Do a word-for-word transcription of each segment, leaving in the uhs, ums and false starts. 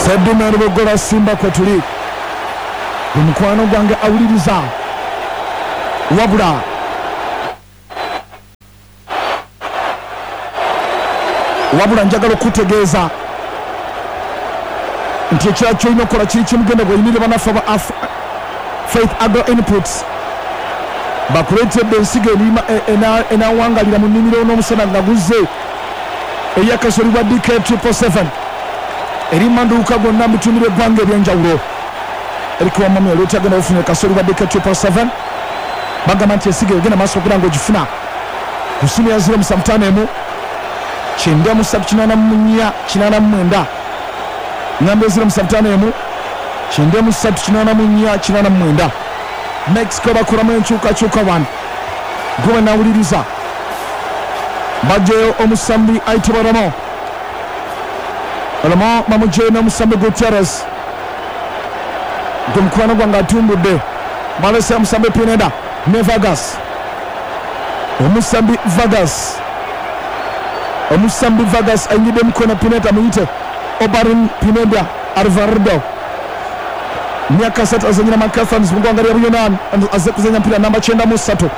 Seddume Lubogola Simba kwe tuli. Omukwano gwange awuliriza wabula wabula njagala okutegeeza nti ekirala ky'olina okukola kiri kimugenda bw'oyimirire bannaffe ba Faith Agro Inputs bakuleetedde ensigo enawangalira mu nnimiro n'omusana nga guzze eyakasolibwa D K triple seven eri maduuka gonna mu bitundu by'eggwanga eby'enjawulo. Eriko wamami oleeta genda ofuna kasolibwa D K triple seven bagamba nti ensigo egenda maaso okugira ng'ogifuna ku ssimu ya zero musanvu ttaano emu kyenda mu ssatu kinaana mu nnya kinaana mu mwenda ngamba zero musanvu ttaano emu kyenda mu ssatu kinaana mu nnya kinaana mu mwenda. Mexico bakolamu enkyukakyuka wano gwe nawuliriza bajjayo omusambi ayitibwa Ramo Ramo bamugyeyo n'omusambi Gutierrez gwe mukwano gwange atumbudde balese omusambi Pineda ne Vargas omusambi Vargas omusambi Vargas ayingidde mukono Pineda muyite Obarin Pineda Alvarado myaka asatu azanyira Macathans mu ggwanga lya Buyunaani azze kuzannya mpira namba kyenda mu ssatu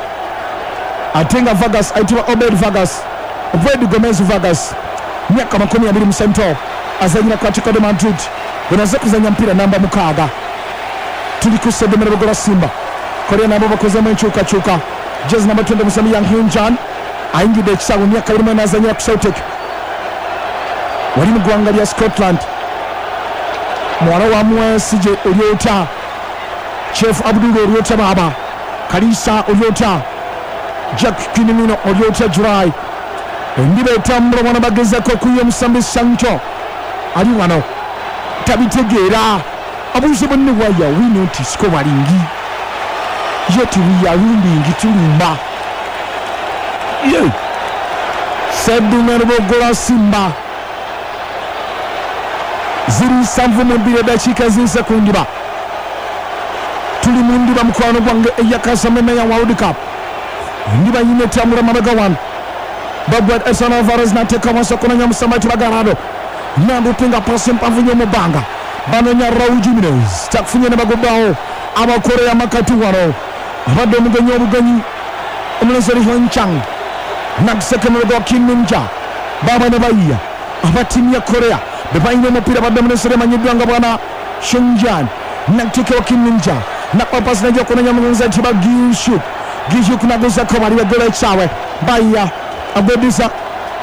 ate nga Vargas ayitibwa Obed Vargas Obed Gomez Vargas myaka makumi abiri mu sento azanyira ku Atletico de Madrid ono azze kuzannya mpira namba mukaaga. Tuli ku Seddume Lubogola Simba. Korea nabo bakozemu enkyukakyuka. Jezi namba twenty musambi Yang Hyun-jan ayingidde ekisaawe myaka abiri mu ena azanyira ku Celtic wali mu ggwanga lya Scotland. Muwala wa Mwesije Olyota Chef Abdul Olyota baba Kalisa Olyota Jack Kinimino Olyota July endiba etambula mwana bagezako okuyiya omusambi Sancho ali wano tabitegeera abuuze bonne waya we not scoring yet we are winning tulumba ye Seddume Lubogola Simba ziri nsanvu mu bbiri eddakiika ziyise ku ndiba. Tuli mu ndiba mukwano gwange eyakasameme ya World Cup. Endiba yina etambula mabega wano Babwed Edson Alvarez n'ateeka wansi okunoonya omusambi ayitibwa Garado nandupinga pasi mpanvu nnyo mu bbanga banoonya Raul Jimenez takufunye ne bagobbawo abakoreya makati wano abadde omugenyi obugenyi omulenzi oli Hyun-chang nakuseka emabega wa Kim Min-jae baba ne bayiya aba ttiimu ya Korea be balina omupiira badde omulenzi oli amanyiddwa nga bwana Hyun-jan nakuteekawo Kim Min-jae nakuba pasi najja okunoonya omulenzi ayitibwa Gi-suk Gi-suk naguzako bali baggola ekisaawe bayiya agweddiza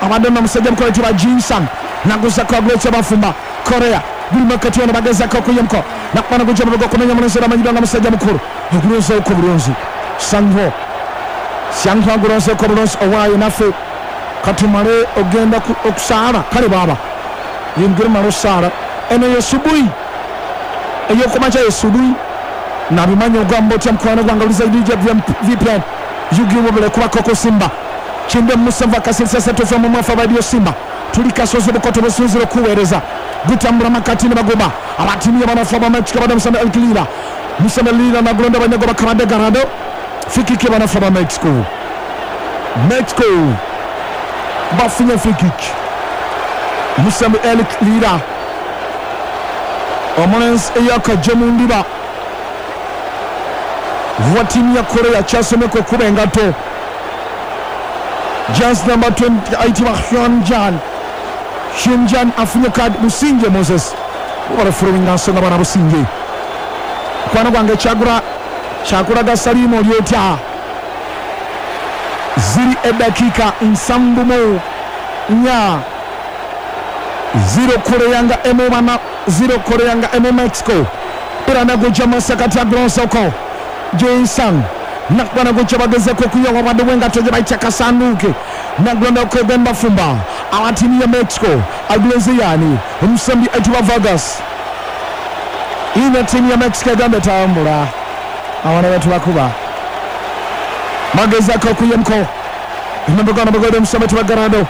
abadde n'omusajja mukolo ayitibwa Jin-sang naguzako agula ekyabafumba Korea buli makati wano bagezako okuyemko nakubana gujja mabega okunoonya omulenzi oli amanyiddwa nga musajja mukulu ogulonzeeko bulungi Sangho Sangho agulonzeeko bulungi owaayo naffe katumale ogenda okusaala kale baaba yingire mala osaala eno ye subuyi ey'okumakya ye subuyi nabimanya ogamba otya mukwano gwange oluza D J V P N yugiwobule kubakoko Simba kyenda musanvu akasirisa ssatu F M mwafa Radio Simba tuli kasozi bukoto businzira okuweereza gutambula makati ne bagoba abatiimu y'abanafu aba Mexico badde musambi El Lira musambi Lira nagulonda banyago bakabadde Garado free kick y'abanafu aba Mexico Mexico bafunye free kick musambi El Lira omulenzi eyakajja mu ndiba wa ttiimu ya Korea kyasomeka okuba engatto Just number twenty ayitibwa Hyun-jan Hyun-jan afunye kadi Businge Moses obalafulowinga nsonga bwana Businge mukwano gwange kyagula kyakulaga Salimu oli otya ziri eddakiika nsanvu mu nnya zero Korea nga emu bana zero Korea nga emu Mexico era nagujja masakati agulonsoko Jin-sang nakubana gujja bagezeko okuyiwa wabadde bw'engatto gye bayita kasanduuke nagulonda okwegomba fumba aba ttiimu ya Mexico agulenze yaani omusambi ayitibwa Vargas ina ttiimu ya Mexico egamba etambula abaana betubakuba bagezako okuyemko emabega nabagolera omusambi ayitibwa Garado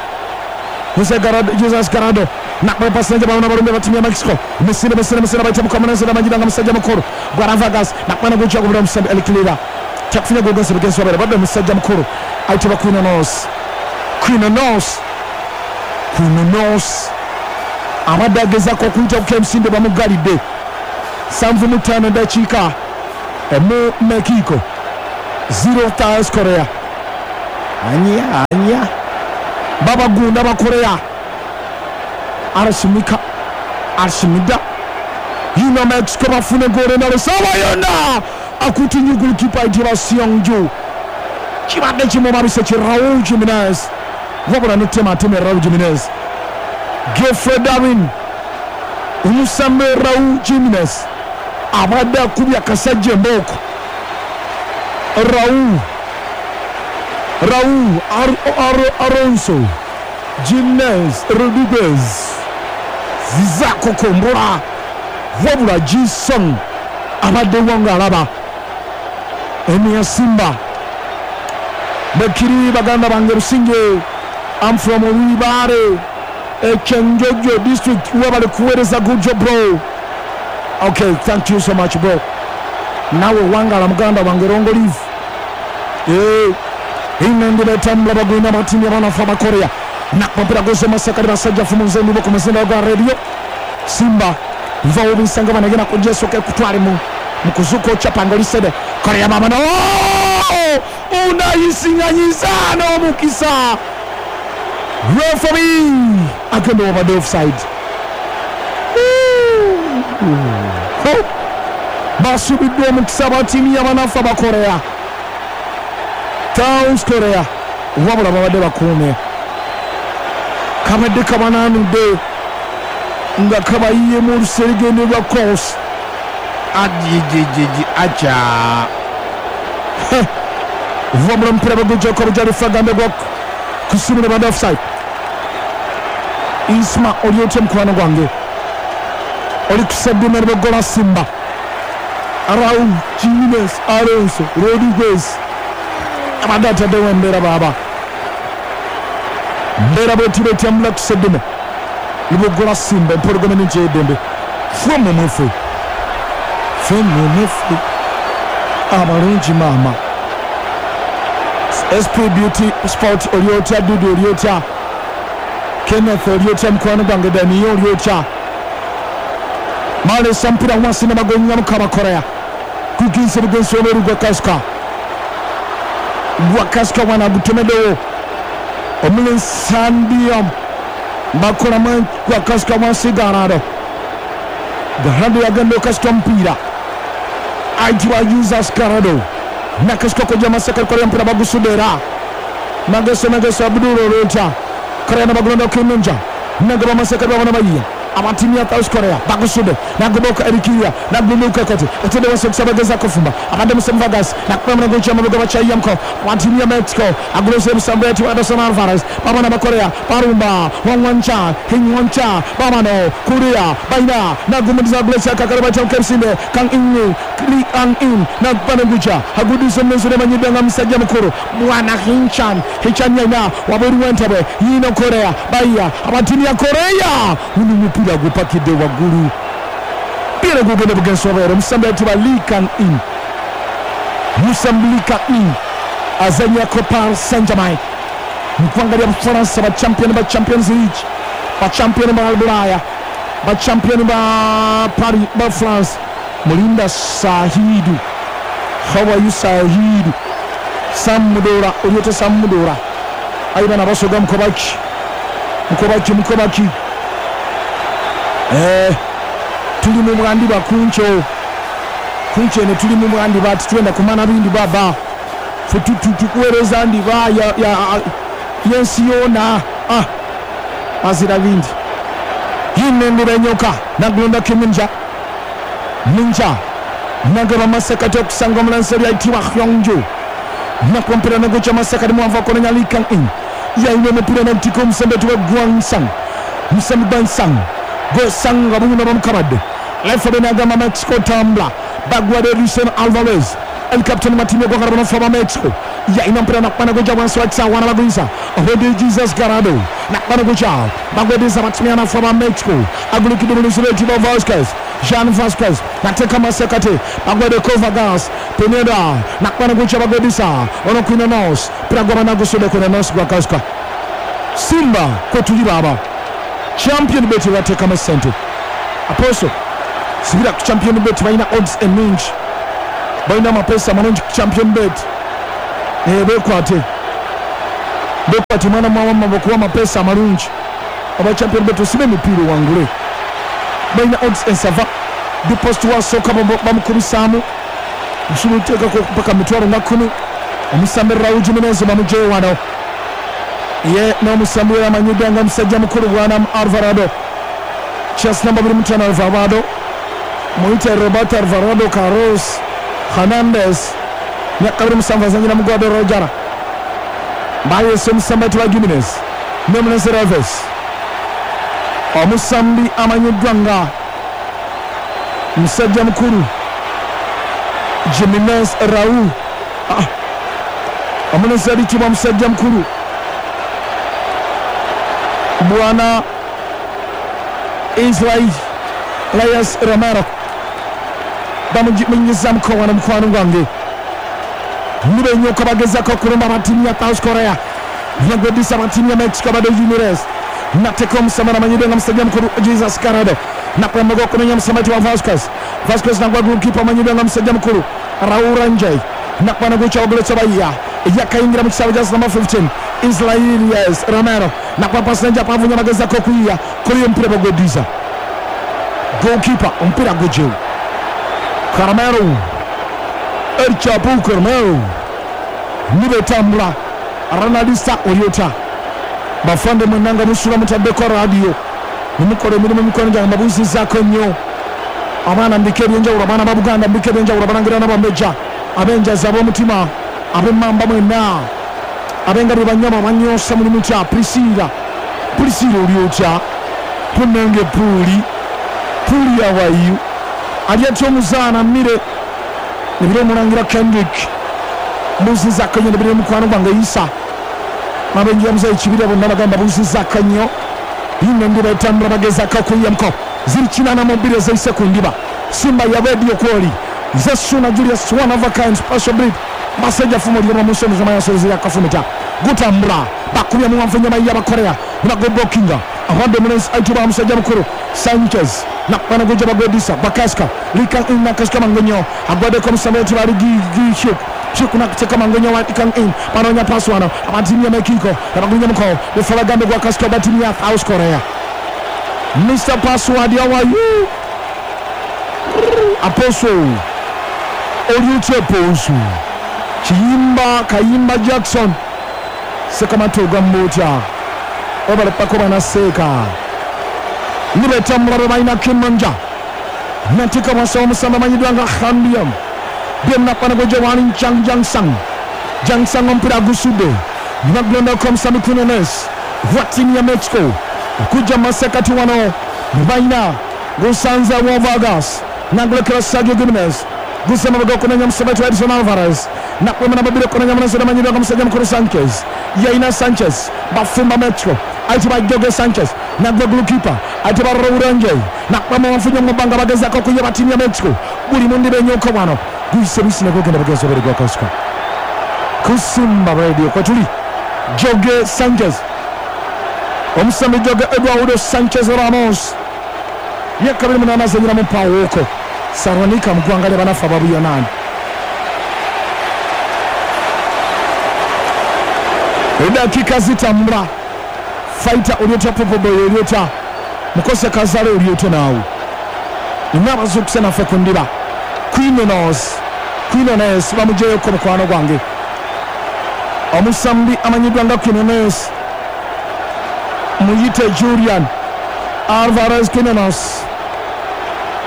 Jose Garado Jesus Garado nakuba pasi najja balona balumbe ba ttiimu ya Mexico misinde misinde misinde bayita mukomunenzi namanyira nga musajja mukulu gwara Vargas nakubana gujja gubula omusambi El Lira takufunya gogenzi bugenzi wabere badde omusajja mukulu ayitibwa Quinones Quinones Quinones Abadde agezaako okuyita ku kemisinde bamugalidde. Nsanvu mu ttaano dakiika mu Mexico zero South Korea. Anya anya babagunda bakorea arasimika arasimida yino Mexico bafune goal endala sawa yonna akutinye golikipa ayitibwa Seong-ju kibadde kimumabise ki Raul Jimenez wabula netema ateme Raul Jimenez. Geoffrey Darwin omusambe Raul Jimenez abadde akubye akasajja embooko. Raul Raul Ar Ar Alonso Jimenez Rodriguez zizako kombora wabula Jisung abadde wanga alaba eni Simba Bakiri baganda bange Businge. I'm from Wibare Ekyenjojo district wabale kuweereza. Good job bro. Okay, thank you so much bro. Nawe wangala muganda wange rongo live. Eh inendera etambula bagwina batimu abanafu abakorea nakumpira gozo masakali basajja fumunze nibo ku muzinda gwa radio Simba nvawo bisanga banagenda kujeso ke kutwale mu mukuzuko chapanga lisede Korea mama no unayisinganyiza n'omukisa referee agenda over the offside. Basubiddwa omukisa batimu y'abanafu abakorea South Korea wabula babadde bakuume kabadde kabanaanudde nga kabayiyemu oluserigendo lwa course ajijijiji aca wabula omupiira bagujjako obujalifu agambe gwa kusimula badde offside. Isma oli otya mukwano gwange oli kusaddima ne Simba Raul Jimenez Alonso Rodriguez abadde ataddewo embeera baaba mbeera bwetiba etyamula kuseddeme libogola Simba empologoma n'ekyeddembe ffe mumwefe ffe mumwefe abalungi maama. S P Beauty Sport oli otya Dudu oli otya Kenneth oli otya mukwano gwange Daniel oli otya malesa mpira wansi n'abagonyamu kabakorea kuginsa bugensi obeeru gwa Kasika gwa Kasika wana agutomeddewo omulensandiam bakolamu gwa Kasika wansi Garado Garado yagenda okasika omupiira ayitibwa Jesus Garado nakasika kojja masaka korea mpira bagusudde era mageso mageso Abdul olotya Korea nabagulonda okemunja nagaba masaka babona bayiya abatimu ya South Korea bagusudde nagoboka Erikiria naguluka kati atende wase bageza kufumba abadde Musemvagas nakuba gocha mabuga bachayamko abatimu ya Mexico agulose musambo yati Anderson Alvarez babona bakorea barumba wanwancha hinwancha babano Korea baina nagumudiza gulesa kakara bacha kemsinde kang inni li ang in nakubana gucha agudiso mensure manyidanga musajja mukuru mwana hinchan hinchan yana waberu wentabe yino Korea baiya abatimu ya Korea unu mpira gupakidde waggulu mpira gugenda bugensi wabeere omusambi ayitibwa Lee Kang In Musambi Lee Kang In azannyako Paris Saint-Germain mu ggwanga lya Bufalansa ba champion ba Champions League ba champion ba Bulaya ba champion ba Paris ba France. Mulinda Sahidu, how are you Sahidu? Sam Mudora olyota Sam Mudora ayi bana basoga mukobaki mukobaki mukobaki Eh, tuli mu bwandiba kuncho kuncho ne tuli mu bwandiba titwenda kumana bindi baba fe tukuweereza ndiba ya ya yensi yona ah azira bindi yinendera enyoka nagulonda kiminja minja nagaba masakati okusanga omulansi ayitibwa Hyungju nakumpira nagucha masakati muwanvu akononya Lee Kang In yayina omupiira n'omutika omusembe tuba Gwansang musembe Gwansang gosanga buno bamukabadde referee n'agamba Mexico tambula bagwade Lucian Alvarez el captain matimu gwagala banafu aba Mexico yayina mpira nakubana guja wansi wa kisawa n'abagwiza obedi Jesus Garado nakubana guja bagwediza batimu anafu aba Mexico agulikidde bulungi lwetibwa Vasquez Jean Vasquez nateka masekate bagwede Kovagas Pineda nakubana guja bagwedisa ono Quinones pira gwaba nagusudde Quinones gwa Kasika Simba kwe tuli baba Champion Bet bateekamu essente. Apostle sibira ku Champion Bet, balina odds ennungi, balina amapeesa amalungi ku Champion Bet. Eh, bekwate bekwate mwana mwawamma bakuwa amapeesa amalungi aba Champion Bet, osibe emipiira owangule. Balina odds ensava. Deposit wasooka bamukubisaamu nsobola oteekako paka mitwalo nga kkumi. Omusambi Raul Jimenez bamugyeyo wano ye n'omusambi we amanyiddwa nga musajja mukulu bwana Alvarado, chess namba biri mutano Alvarado, muyite Roberto Alvarado Carlos Hernandez, myaka biri musanvu, azanyira mu Guadalajara. Bayese omusambi ayitibwa Jimenez n'omulenzi Reves, omusambi amanyiddwa nga musajja mukulu Jimenez Raul, ah, omulenzi ayitibwa musajja mukulu bwana Israel Reyes Romero, bamunyuzamuko wano mukwano gwange. Nibenyoka bagezako okulumba abatiimu ya South Korea, nagwedisa abatiimu ya Mexico bado Jimenez nateka omusambi amanyiddwa nga musajja mukulu Jesus Carado, nakwembaga okumenya omusambi wa Vasquez. Vasquez nagwa goalkeeper amanyiddwa nga musajja mukulu Raul Rangel, nakwana gucha oguletsa bayiya yakayingira mu kisaawe kya number fifteen Israel Reyes Romero, nakwa pasi nja pavunya bagezako okuyiya kuli omupiira bagweddiza goalkeeper, omupiira gugyewo Carmelo El Chapo Carmelo nibetambula Ranalisa Oyota. Bafande mwenanga musula mutaddeko radio nimukola emirimu emikono gyange mbabuuzizaako nnyo. Abaana mbika ebyenjawulo, abaana ba Buganda mbika ebyenjawulo, abalangira n'abambejja, ab'enjazi, ab'omutima, ab'emmamba mwenna, ab'engabye banyama abanyoosa mulimu kya Priscilla. Priscilla oli otya? Punenge Puuli, Puuli awayu ali atya omuzaana mmire nebiri omulangira Kendrick mbuuzizaako nnyo, nebiri mukwano gwange Isa n'abenjira muzeeyi Kibira bonna bagamba mbuuzizaako nnyo. Yino endiba etambula bagezaako okuyiyamuko ziri kinaana mu bbiri ezeyise ku ndiba. Simba ya radio kwoli nze Suna Julius one of a kind special breed basajja fumo lyoma mu nsonga z'amayasozi yakafumita gutambula bakubye muwanvu ennyama y'abakorea nibagobokinga abadde omulenzi ayitibwa musajja mukulu Sanchez nakwana gujja bagwedisa bakaska lika nakasika mangonyo agwaddeko omusambi ayitibwa ali Gishuk Chiku nakuteka mangonyo wa ikang in banoonya paasi wano abatiimu ya Mexico abagunya muko befa bagambe gwa kasika abatiimu ya South Korea. Mister Password, how are you? Apostle oli otya Apostle? Kiyimba Kayimba Jackson Sekamatu ogamba otya? Obalepako banaseeka nibetambula be balina Kimanja nateeka wansi omusambi amanyiddwa nga Hambiam byemnakwana gwe wali Jang Jang Sang Jang Sang omupiira agusudde nagulondako omusambi Quinones wa ttiimu ya Mexico okujja mu masekkati wano balina gusanze wa Vargas nagulekera Sergio Gimenez gusema baga okumenya omusambi wa Edson Alvarez nakwema namba bbiri okumenya omulenzi amanyiddwa nga musajja mukulu Sanchez yayina Sanchez bafumba Mexico ayitibwa Jorge Sanchez nagwa goalkeeper ayitibwa Raul Rangel nakwema wanfunye mu bbanga bagezaako okuyaba ttiimu ya Mexico buli mundi benyooka wano guyise buyisi nagogenda bagenzi obere gwa Kasika Kusimba Radio kwetuli Jorge Sanchez omusambi Jorge Eduardo Sanchez Ramos myaka abiri munaana azanyira mu Pawoko Salonika mu ggwanga ly'abanafu ababuyonaani. Eddakiika zitambula Fighter oli otya Popoboy oli otya Mukose Kazale oli otya naawe nina abazuukuse naffe ku ndiba. Quinones Quinones bamugyeyoko mukwano gwange omusambi amanyiddwa nga Quinones muyite Julian Alvarez Quinones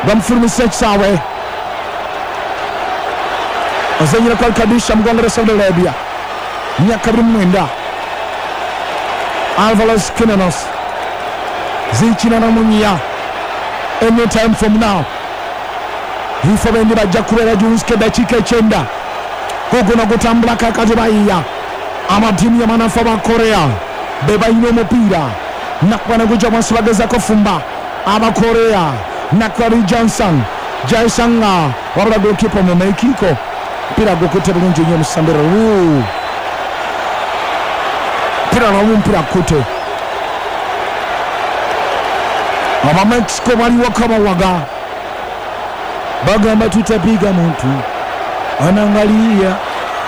bamufulumisa ekisaawe azanyira kwa Al-Qadisha mu ggwanga lya Saudi Arabia myaka abiri mu mwenda. Alvarez Quinones zikinana mu nnya any time from now bifo bendi bajja kubeera Junsike eddakiika ekyenda guguno gutambula kaakati bayiya amatiimu y'amanafu aba Korea be balina omupiira nakwana gujja wansi bagezaako fumba abakorea nakwali Johnson Jaisanga wabula goalkeeper mu Mexico mpira gukutte bulungi nnyo omusambira mpira namu mpira kute Aba Mexico bali waka bawaga, bagamba tutapiga muntu anangalia,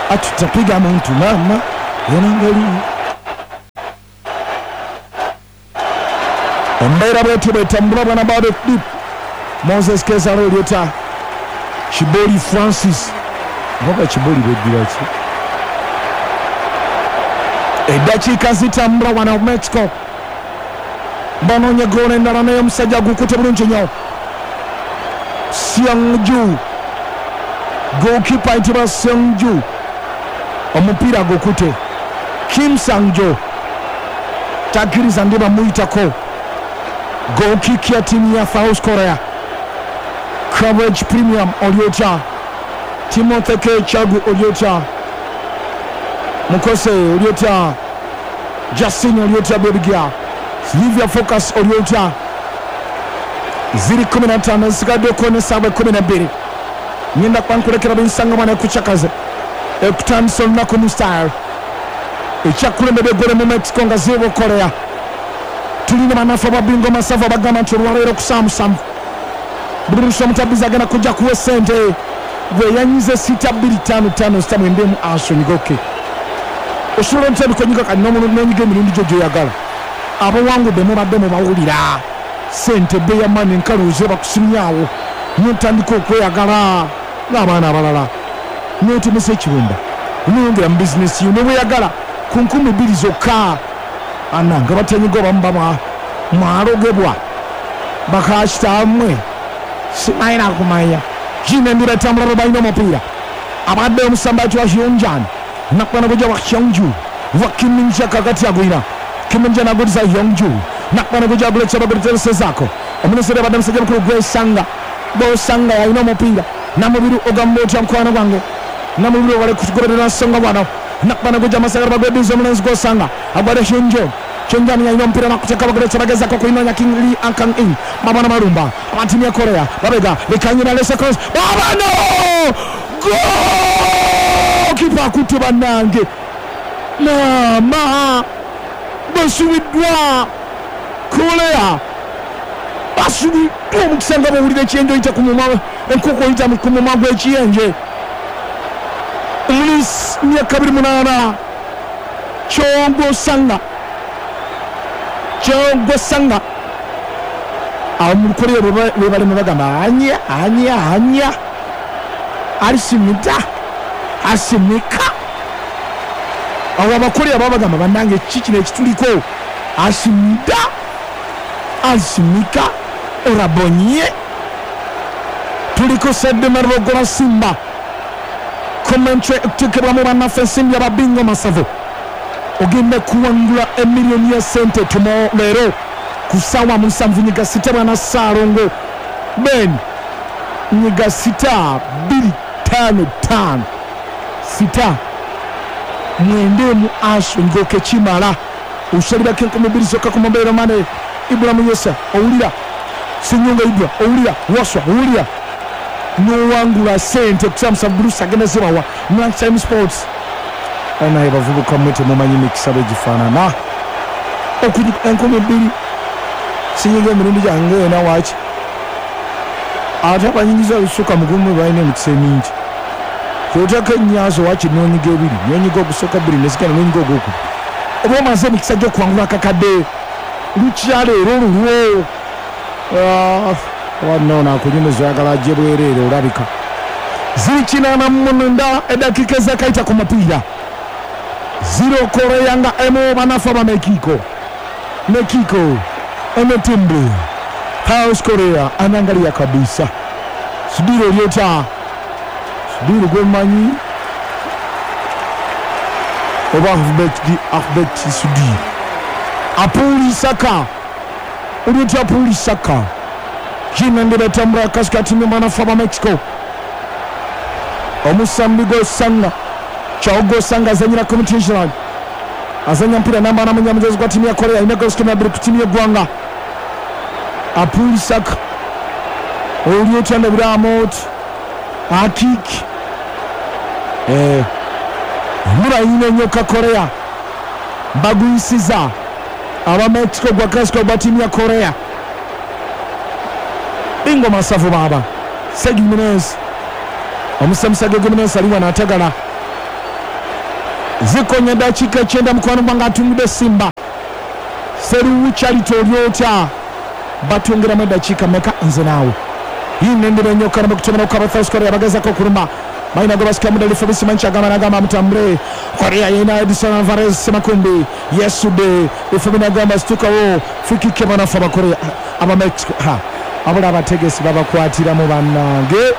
atutapiga muntu mama anangalia. Embeera bwetyo bwetambula bwana bado deep. Moses Kezaro Oliota, Chiboli Francis ngoba Chiboli beddira ki eddakiika zitambula wana Mexico banoonya goolo endala naye omusajja agukute bulungi nnyo Seongju, goalkeeper ayitibwa Seongju, omupiira gukute. Kim Sangjo takkiriza ndi bamuyitako. Goal kick ya timu ya South Korea. Coverage Premium Oliota, Timothy K Chagu Oliota, Mukose Oliota, Justin Oliota Bebigia, Livia Focus Oliota. Ziri kumi na ttaano zisigadde okukona essaawa ekkumi na bbiri. Ngenda kwankulekera bensanga ekucakaze ekutandisa olunaku mu style ekyakulembedde eggole mu Mexico nga zero Korea. Tulina bannaffe ababingo masavu abagamba nti olwaleero ku ssaawa musanvu Bruce Omutabizi agenda kujja kuwa essente gwe yanyize sita bbiri ttaano ttaano sita mwenda emu asonyigoke. Osobola ntandika onyiga kati n'onyiga emirundi gyo gy'oyagala. Abawangudde mubadde mubawulira sente bbe ya mani enkaluuze bakusimyawo n'otandika okweyagala n'abaana abalala n'otemesa ekibumba n'oyongera mu bizinesi yo ne weeyagala ku nkumi bbiri zokka. Ana nga batanyiga obamu bamwa mwalogebwa bakakitammwe simayina kumanya. Jina ndira etambula balina omupiira abadde omusambaati wa Hyunjan nakwana kujja wa Hyungju wa Kiminja kakati agwira Kiminja naguliza Hyungju nakwana kujja aguletsa baguletsa zako omunesere abadde musajja mukulu gwesanga bosanga yalina omupiira namubiru ogamba otya mukwano gwange namubiru wale kugoberera nsonga wano nakwana kujja amasagala bagwediza omulenzi gwosanga agwade Hyunjo Chenjani yalina omupiira nakuteka baguletsa bagezako kuinonya King Lee Ankang In mabana marumba abatimu ya Korea babega lekanyina lesa cross babano goal kipa akutte bannange maama basubiddwa Korea basubiddwa omukisa nga bw'owulira ekiyenje oyita ku mumwa enkoko oyita ku mumwa gw'ekiyenje. Lis myaka abiri munaana Chongo Sanga Chongo Sanga awo mu Korea be balimu bagamba anya anya anya alisimita asimika. Awo abakorea baba bagamba bannange ki kino ekituliko asimita asimika orabonye tuliko sedde marogola Simba commentary ekuteekebwamu bannaffe ensimbi ababingo masavu ogenda kuwangula emiliyoni ya sente tumo leero ku ssaawa musanvu nyiga sita bwana Ssaalongo Ben nyiga sita bbiri ttaano ttaano sita mwenda emu aso ngoke kimala osalirako enkumi bbiri zokka ku mobile money. Ibulamu Yesa owulira Senyonga Ibra owulira Waswa owulira n'owangula sente ku ssaawa musanvu Bruce agenda zibawa mu Lunchtime Sports. Naye bavubuka mmwe temumanyi mikisa bwe gifaanana enkumi bbiri sinyiga emirundi gyange ena waaki ate abanyingiza olusuka mugumu balina emikisa emingi kyotako ennyazo waaki n'onyiga ebiri n'onyiga ogusooka bbiri nesigala n'onyiga ogwokubiri oba omaze emikisa gy'okuwangula akakadde lukya leero lulwo wanno akunyumiza oyagala ajje bwereere olabika. Ziri kinaana mu mwenda eddakiika ezakayita ku mupiira zero Korea nga emu banafu aba Mexico Mexico emetimbu South Korea anaangalia kabisa Sudiro Oliota Sudiro gwemanyi oba Ahmed Sudi Apuli Saka Oliota Apuli Saka Jina ndebe tambura katikati banafu aba Mexico omusambi gwosanga Chaogo Sanga azanyira competition azanya mpira namba na munyamuzezi gwa timu ya Korea ina goals kumi na bbiri ku timu y'eggwanga Apuli Saka Oliota ndabira Akik eh mura nnyo Korea bagwisiza aba Mexico gwa Mexico gwa timu ya Korea Bingo masavu baba Sergio Jimenez omusamusage Jimenez aliwa n'atagala zikonya dakiika ekyenda mukwano gwange atungudde Simba Seruwu Charity olyotya batwongeramu eddakiika meka nze naawe yinendera ennyo kana bakutomera okukaba South Korea bagezako okuluma balina gwe basikamu ddala Fabrice Manchi agamba n'agamba mutambule Korea yina Edison Alvarez Semakumbi yesudde Fabi n'agamba situkawo free kick banafu abakorea aba Mexico ha abula abategesi babakwatiramu bannange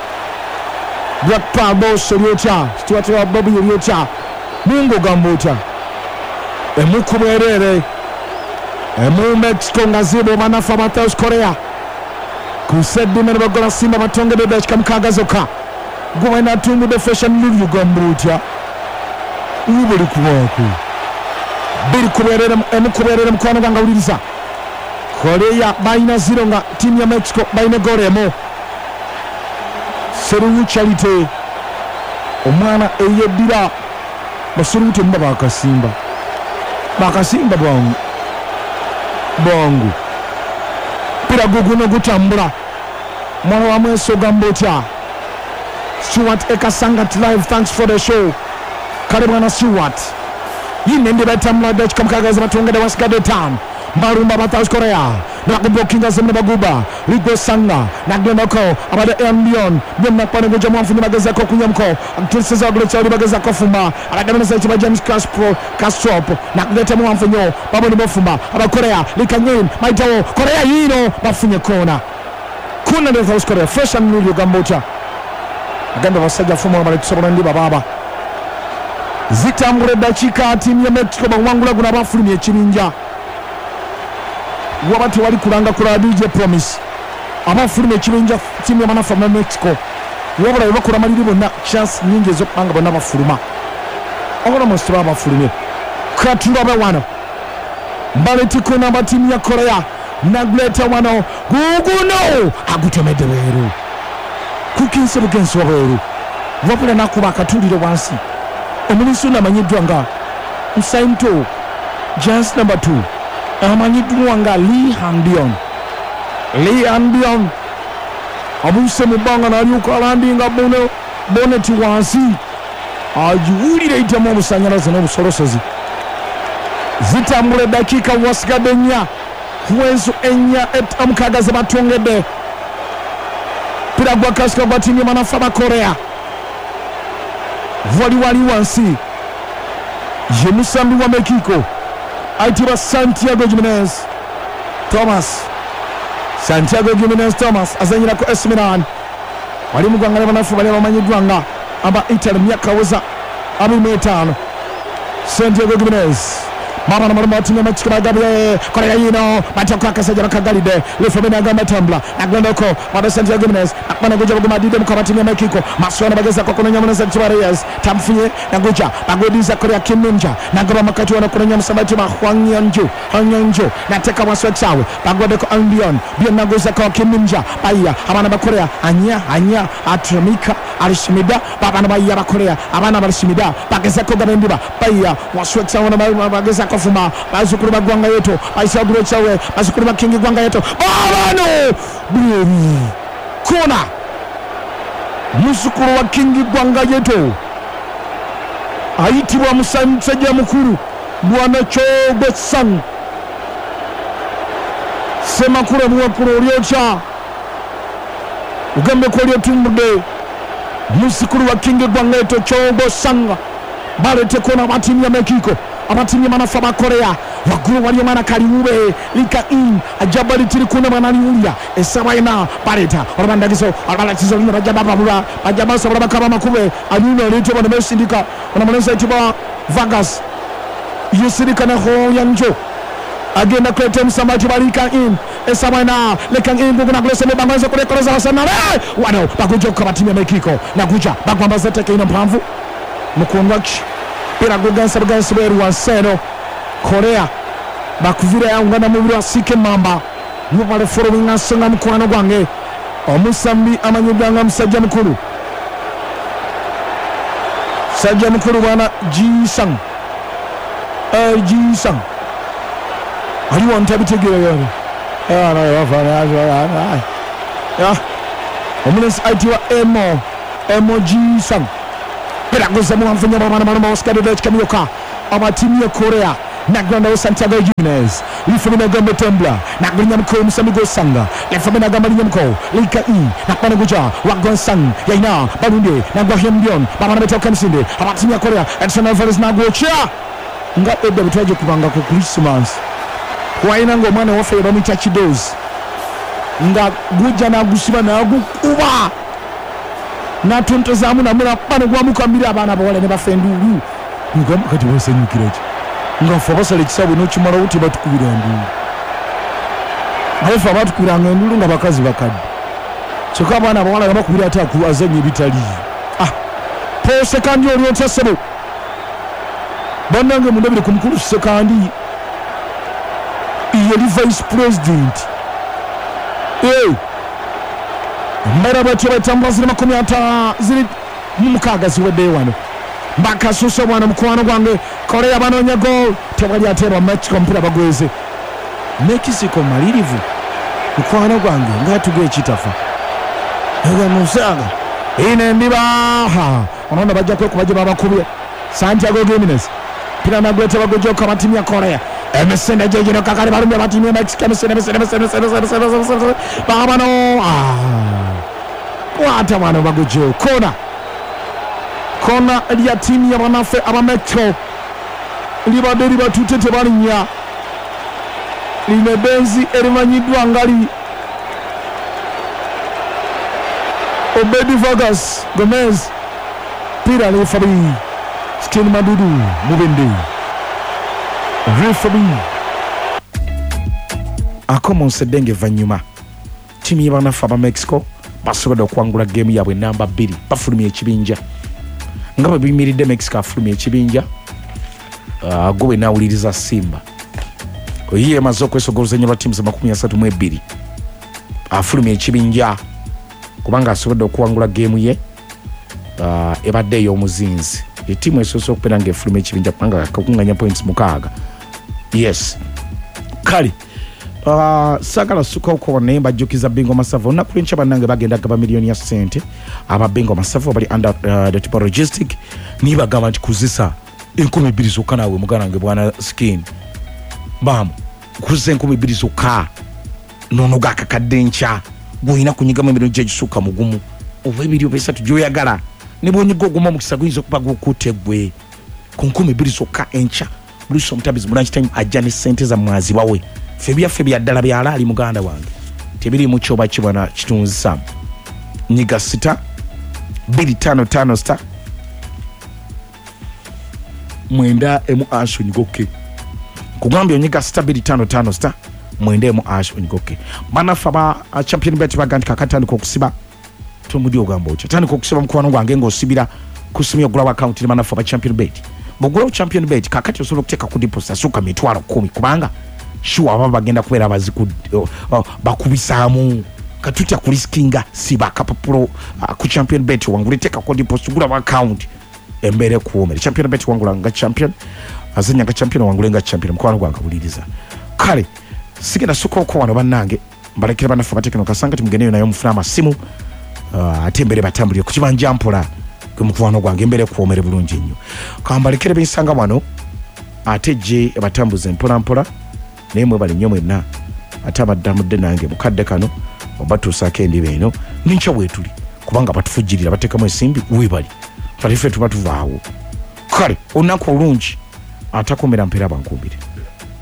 Black Power Boss olyotya Stuart wa Bobby olyotya Mungu ogamba otya emukubwerere emu Mexico nga zibo banafu aba South Korea kusedde ne bagola Simba batongedde eddakiika mukaaga zokka gwe natungudde Fashion Lulu ogamba otya buli kubaako biri kuberere emu kuberere mukwano gwange awuliriza Korea balina zero nga ttiimu ya Mexico balina eggoolo emu Seruwu Charity omwana eyeddira baseruwu temuba bakasimba bakasimba bwangu bwangu mpira guguno gutambula mwana wa mweso ogamba otya Stuart Ekasangat live thanks for the show kale mwana Stuart yine ndi batambula dakika mukaaga zibatongedde wasigadde ttaano Barumba ba South Korea nakubokinga zemne baguba Rigo Sanga nagendako abadde Ambion byonna kwanegujja mwanfunye bagezako okunyamko atuliseza waggulu kyali bagezako fumba abadde ekiba James Castro Castrop nakuleeta muwanfunyo baboni bafumba abakorea Likangin maitawo Korea yino bafunye kona kona ndi South Korea fresh and new ogamba otya agamba basajja fuma bali kusobola ndiba baba zitambula eddakiika ttiimu ya Mexico bawangula guno abafulumya ekibinja waba tewali kulanga kula D J Promise abafulumya ekibinja ttiimu y'abanafu aba Mexico wabula bwe bakola maliri bonna chance nnyingi ez'okubanga bonna bafuluma almost baba bafulumye katulabe wano mbaletiko namba ttiimu ya Korea naguleta wano guguno agutomedde bweru kukinse bugenzi wabweru wabula nakuba akatuliro wansi omulinsi ono amanyiddwa nga Msaimto just number two amanyiddwa nga Lee Hanbion Lee Hanbion abuuse mu bbanga n'alyoka alandinga bono boneti wansi agiwulira eyitamu obusannyalazo n'obusolosozi zitambula eddakiika wasigadde nnya kuwezo ennya omukaaga ze batongedde mpira gwa kasika gwa ttiimu y'abanafu aba Korea wali wali wansi ye musambi wa Mexico ayitibwa Santiago Jimenez Thomas Santiago Jimenez Thomas azanyirako A C Milan wali mu ggwanga ly'abanafu bali abamanyiddwa nga aba Italy myaka weza abiri mu etaano Santiago Jimenez mabana malumba wa timu ya Mexico bagabye Korea yino batako akasajja bakagalidde Lefobeni agamba tambula agendako bado Santiago Jimenez akubana guja baguma dide mukaba timu ya Mexico Masuana bagezako kunonya muneza Tiba Reyes tamfunye naguja bagudiza Korea Kim Minja nagoba makati wana kunonya musamba Tiba Hwang Yeonju Hwang Yeonju nateka waswe chawe bagwadeko Ambion bien naguza kwa Kim Minja baya abana ba Korea anya anya atramika alishimida babana baya ba Korea abana balishimida bagezako gabendiba baya waswe chawe na bagezako fuma bazukuru ba gwanga yetu baisaguro chawe bazukuru ba kingi gwanga yetu babano kona muzukuru wa kingi gwanga yetu ayitibwa musajja mukuru bwana Chogo Sang Semakuru muwakuru olyocha ugambe ko olyotumbudde muzukuru wa kingi gwanga yetu Chogo Sang balete kona batimu ya Mexico abatimu y'amanafu aba Korea waggulu waliyo mwana kaliwube lika in ajaba litiri kuna mwana liwulya esaba ina baleta olubandagizo olubalakizo luno bajja bababula bajja basobola bakaba makube anyuno oleetebwa bano besindika ono mulenzi ayitibwa Vargas yesindika ne Hoyanjo agenda kuleta omusamba ayitibwa Lika in esaba ina leka in guguna kulesa mibango kulekoleza Arsenal wano bagujja okukaba ttiimu ya Mexico naguja bagwambaza etteke ino mpanvu mukundwaki pira gugensa bugensi bweru wansi eno Korea bakuvira yawungana mubiri wa Sike Mamba mubale following nsonga mukwano gwange omusambi amanyiddwa nga musajja mukulu sajja mukulu bwana Ji-sang eh Ji-sang aliwo ntabitegeera yone Ya omulenzi ayitibwa Emo Emo Ji-sung peragoza muwanvu nnyo abaana baloma Oscar Dodech Kamyoka aba ttiimu ya Korea nagwandawo Santiago Jimenez lifumi nagamba Tembla nagulinya mko Musami Gosanga lifumi nagamba linya mko Lika E nakwana guja Wagonsang yaina Balunde nagwa Hyembion babana betoka Misinde aba ttiimu ya Korea Edson Alvarez nagwocha nga edda bwe kubanga ku Christmas waina ng'omwana waffe bamuyita Kidozi nga gujja n'agusiba n'agukuba n'atontozaamu namulaba ne gwamukamira abaana abawala ne bafa enduulu nga kati basanyukira ki nga ffe abasala ekisaawe n'okimalawo tebatukubira nduulu naye ffe abatukubiranga enduulu nga bakazi bakadde kyokka abaana abawala nga bakubira ate azannya ebitaliiyo. Ah, Paul Sekandi oli otya ssebo bannange mundabire ku mukulu Sekandi yali vice president. Hey, mara batyo batambula ziri makumi ata ziri mu mukaaga ziweddeyo wano mbakasusa bwana mukwano gwange Korea banoonya goal tewali ateerwa Mexico omupiira bagweze Mexico malirivu mukwano gwange ng'atuga ekitafa nga musaga ine ndibaha onoona bajja kwekuba gye babakubye Santiago Gimenez pira nagwete bagujoka abatimu ya Korea emisinde gyegino kakali balumye abatimu ya Mexico emisinde emisinde emisinde emisinde emisinde emisinde emisinde babano kwata bano bagujeyo kona kona lya ttiimu y'abannaffe aba Mexico libadde libatutte tebalinnya lino ebbenzi erimanyiddwa nga li Obedi Vargas Gomez pira referee Skin Madudu Mubende referee akomonsedde ng'evannyuma ttiimu y'abannaffe aba Mexico basobodde okuwangula geemu yaabwe namba bbiri bafulumya ekibinja nga bwe biyimiridde Mexico afulumya ekibinja uh, gwe naawuliriza Simba oyiye emaze okwesogoloza ennyo lwa ttiimu za makumi asatu mu ebbiri afulumya ekibinja kubanga asobodde okuwangula geemu ye uh, ebadde ey'omuzinzi ettiimu esoose okubeera ng'efulumya ekibinja kubanga kakunganya points mukaaga. Yes kale Uh, sagala sukako naye mbajjukiza Bingo Masavu olunaku lw'enkya bannange bagenda gaba miliyoni ya ssente aba Bingo Masavu bali under uh, the tipo logistic niye bagamba nti kuzisa enkumi bbiri zokka naawe muganda wange bwana skin baamu kuzisa enkumi bbiri zokka nonoga akakadde enkya gw'olina kunyigamu emirundi gye egisukka mugumu oba ebiri oba esatu gy'oyagala ne bw'onyiga ogumu omukisa guyinza okuba gukutte ggwe ku nkumi bbiri zokka enkya Bruce Omutabizi mu lunch time ajja ne ssente zammwe azibawe ffe byaffe bya ddala byalaali muganda wange tebiriimu kyoba kibwana kitunzisa nyiga sita bbiri ttaano ttaano sita mwenda emu ash onyigoke kugambye onyiga sita bbiri ttaano ttaano sita mwenda emu ash onyigoke bannaffe aba Champion Bet baga nti kakatandika okusiba tomudi ogamba otya tandika okusiba mukwano gwange ng'osibira ku simu ogulawo akawunti ne bannaffe aba Champion Bet bw'ogulawo Champion Bet kakati osobola okuteeka ku deposit asukka mitwalo kkumi kubanga sure aba bagenda kubeera abaziku bakubisaamu katutya kuriskinga siba akapapulo uh, ku Champion Bet wangule teekako deposit gulawo akawunti embeera ekuwoomere. Champion Bet wangula nga champion azannya nga champion wangule nga champion mukwano gwange wuliriza kale sigenda sukoko wano bannange mbalekere bannaffe abatekeno kasanga timugendeyo naye mufune amasimu uh, ate embeera batambulire ku kibanja mpola gwe mukwano gwange embeera ekuwoomere bulungi nnyo kambalekere bensanga wano ate gye batambuze mpola mpola naye mwebale nnyo mwenna ate abaddamudde nange mukadde kano obatuusaako endiba eno nenkya weetuli kubanga batufujjirira bateekamu ensimbi weebali kale ffe tuba tuvaawo kale olunaku olungi atakomera mpeera bankumbire.